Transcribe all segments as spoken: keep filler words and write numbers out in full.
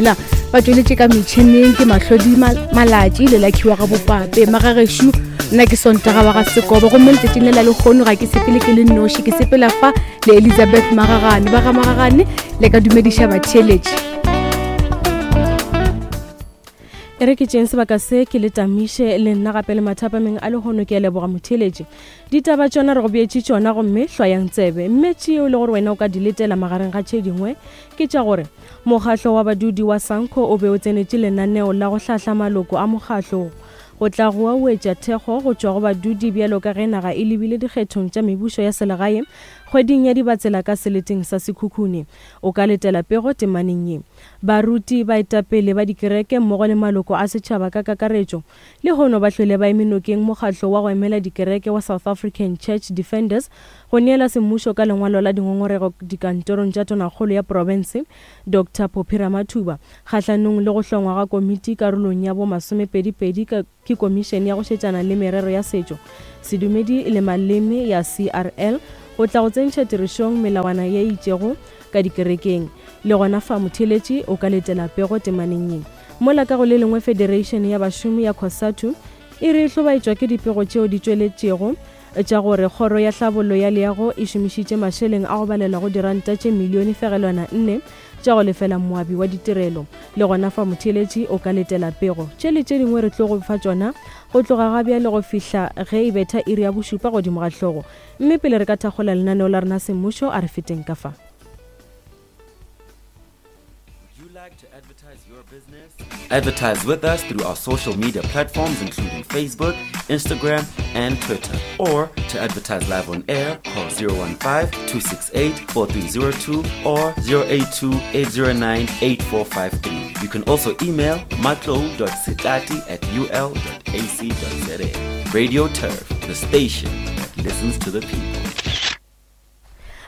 La ba tšweletše ka metšhineng ke Mahlodi Malatši le Lakhiwa ga Bopape. Magagešo, nna ke Sontaga wa ga Sekobo, gomme letšatšing le la lekgono ga ke sepele ke le nnoši, ke sepela fa le Elizabeth Magagane. Ba ga Magagane, le ka dumediša batheeletši. E re ke tšeng sebaka se ke le tamiše le nna gape le mathapameng a lehono. Ke a leboga motheeletši. Ditaba tšona re go beetše tšona, gomme hlwayang tsebe. Mme tšeo le gore wena o ka di letela magareng ga tše dingwe ke tša gore mokgahlo wa badudi wa SANCO o be o tsenetše lenaneo la go hlahla maloko a mokgahlo go tla go auetša thekgo go tšwa go badudi bjalo ka ge naga e lebile dikgethong tša mebušo ya selegae kgweding ya Dibatsela ka seleteng sa Sekhukhune. O ka letela pego temaneng ye. Baruti, baetapele ba dikereke mmogo le maloko a setšhaba ka kakaretšo lehono ba hlwele ba eme nokeng mokgahlo wa go emela dikereke wa South African Church Defenders go neela semmušo ka lengwalo la dingongorego dikantorong tša tonakgolo ya profense Doctor Phophi Ramathuba kgahlanong le go hlongwa ga komiti karolong ya bo masomepedipedi ke komišene ya go šetšana le merero ya setšo, sedumedi le maleme ya C R L go tla go tsentšha tirišong melawana ye itšego ka dikerekeng. Le gona fa motheeletši o ka letela pego temaneng ye. Mola ka go le lengwe Federation ya bašomi ya COSATU e re e hlobaetšwa ke dipego tšeo di tšweletšego tša gore kgoro ya hlabollo ya leago e šomišitše mašeleng a go balela go diranta tše milione fegelwana nne tša go lefela moabi wa ditirelo. Le gona fa motheeletši o ka letela pego. Tše le tše dingwe re tlo go fa tšona go tloga ga bjale go fihla ge e betha iri ya bošupa godimo ga hlogo. Mme pele re ka thakgola lenaneo la rena semmušo, a re feteng ka fa. Advertise with us through our social media platforms including Facebook, Instagram, and Twitter. Or to advertise live on air, call zero one five, two six eight, four three zero two or zero eight two, eight zero nine, eight four five three. You can also email matlo dot setlati at u l dot a c dot z a. Radio Turf, the station that listens to the people.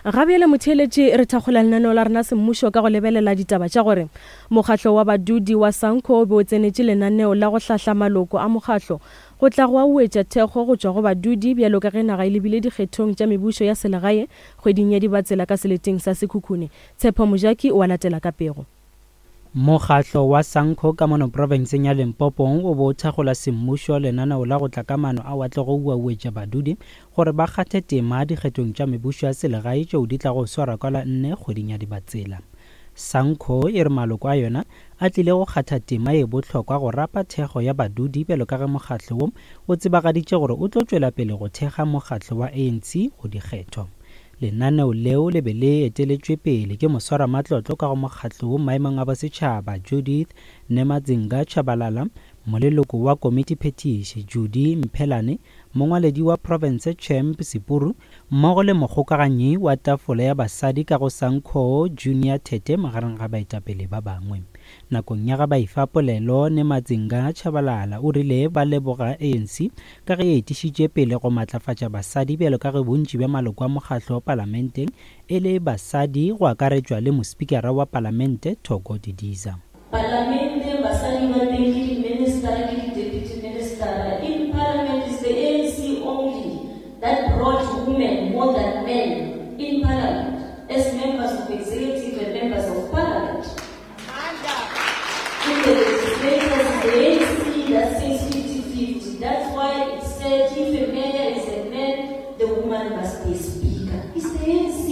Ga bjale motheeletši re thakgola lenaneo la rena semmušo ka go lebelela ditaba tša gore mokgahlo wa badudi wa SANCO o be o tsenetše lenaneo la go hlahla maloko a mokgahlo go tla go auetša thekgo go tšwa go badudi bjalo ka ge naga e lebile dikgethong tša mebušo ya selegae kgweding ya Dibatsela ka seleteng sa Sekhukhune. Tshepo Mojaki o a latela ka pego. Mokgahlo wa SANCO ka mono profenseng ya Limpopo o bo thakgola semmušo lenaneo la go tla ka maano a wa tlo go uauetša badudi gore ba kgathe tema dikgethong tša mebušo ya selegae tšeo di tlago swarwa ka la nne kgweding ya Dibatsela. SANCO e re maloko a yona a tlile go kgatha tema ye bohlokwa go rapa thekgo ya badudi bjalo ka ge mokgahlo wo o tsebagaditše gore o tlo tšwela pele go thekga mokgahlo wa A N C go dikgetho. Lenaneo leo le be le eteletšwe pele ke moswaramatlotlo ka go mokgahlo wo maemong a bosetšhaba Judith Nemadzinga Tshabalala, moleloko wa komiti phetiši Judy Mphelane, mongwaledi wa province Champ Sepuru, mmogo le mokgokaganyi wa tafola ya basadi ka go SANCO Junior Tete magareng ga baetapele ba bangwe. Nakong ya ga ba ifa polelo, Nemadzinga Tshabalala o rile ba leboga A N C ka ge e etišitše pele go matlafatša basadi bjalo ka ge bontši bja maloko a mokgahlo wa palamenteng e le basadi go akaretšwa le mospikara wa palamente Thoko Didiza. Palamente basadi ba teng ke di-minister ke di-deputy minister. In parliament is the A N C only that brought women more than men in parliament as members of executive and members of parliament. In the legislators, the A N C that says fifty fifty. That's why it said if a mayor is a man, the woman must be a speaker. It's the A N C.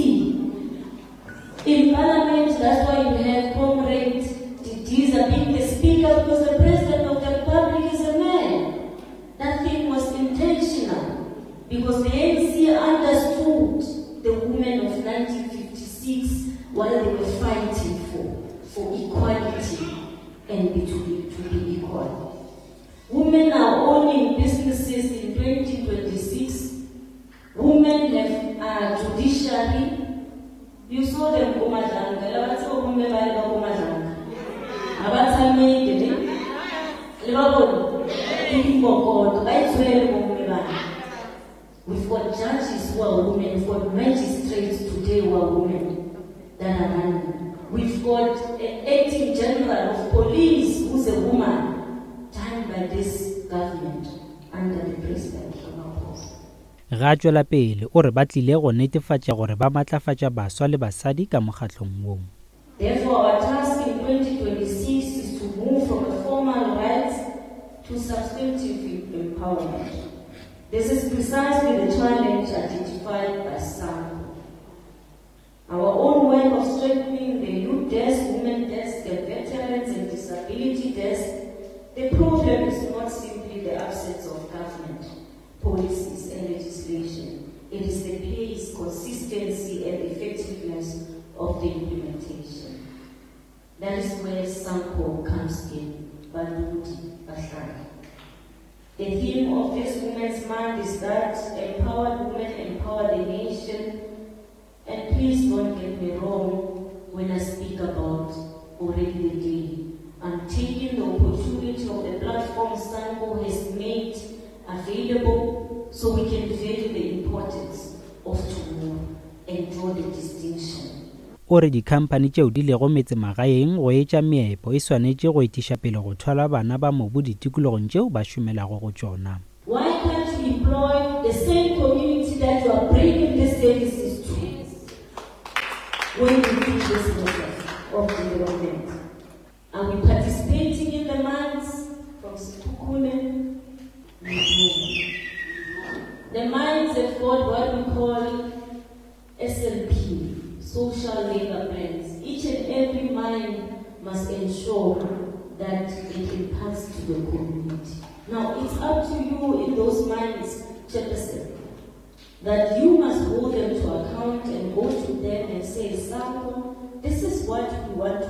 In parliament, that's why you have Comrade Didiza being the speaker, because the president of the republic is a man. That thing was intentional, because the A N C understood the women of nineteen fifty-six while they were fighting for, for equality and be to be, to be equal. Women are owning businesses in twenty twenty-six. Women have, uh, judiciary. You saw them go Madlanga. La ba tseba bomme ba le ba ko Madlanga. Ha ba tshameke, ne? Le ba bone? Ke dikokoto, ba itshwere bomme bana. We've got judges who are women, we've got magistrates today who are women that are running. We've got an acting general of police who's a woman, done by this government under the president Ramaphosa. Ga tšwela pele o re ba tlile go netefatša gore ba matlafatša baswa le basadi ka mokgahlong wo. Therefore, our task in twenty twenty-six formal rights to substantive empowerment. This is precisely the challenge identified by SANCO. Our own work of strengthening the youth desk, women desk, the veterans and disability desk, the problem is not simply the absence of government policies and legislation. It is the pace, consistency, and effectiveness of the implementation. That is where SANCO comes in. Badudi Bahlali. The theme of this Women's Month is that empowered women empower the nation. And please don't get me wrong when I speak about already the day. I'm taking the opportunity of the platform SANCO has made available so we can value the importance of tomorrow and draw the distinction. O re dikhamphani tšeo di lego metsemagaeng go etša meepo e swanetše go etiša pele go thwala bana ba mobu ditikologong tšeo ba šomelago go tšona. Why can't you employ the same community that you are bringing these services to when you do this process of development? Are we participating in the mines from Sekhukhune? No. The mines have got what we call S L P, social labor plans. Each and every mine must ensure that it impacts to the community. Now, it's up to you in those mines, Chairperson, that you must hold them to account and go to them and say, SANCO, this is what we want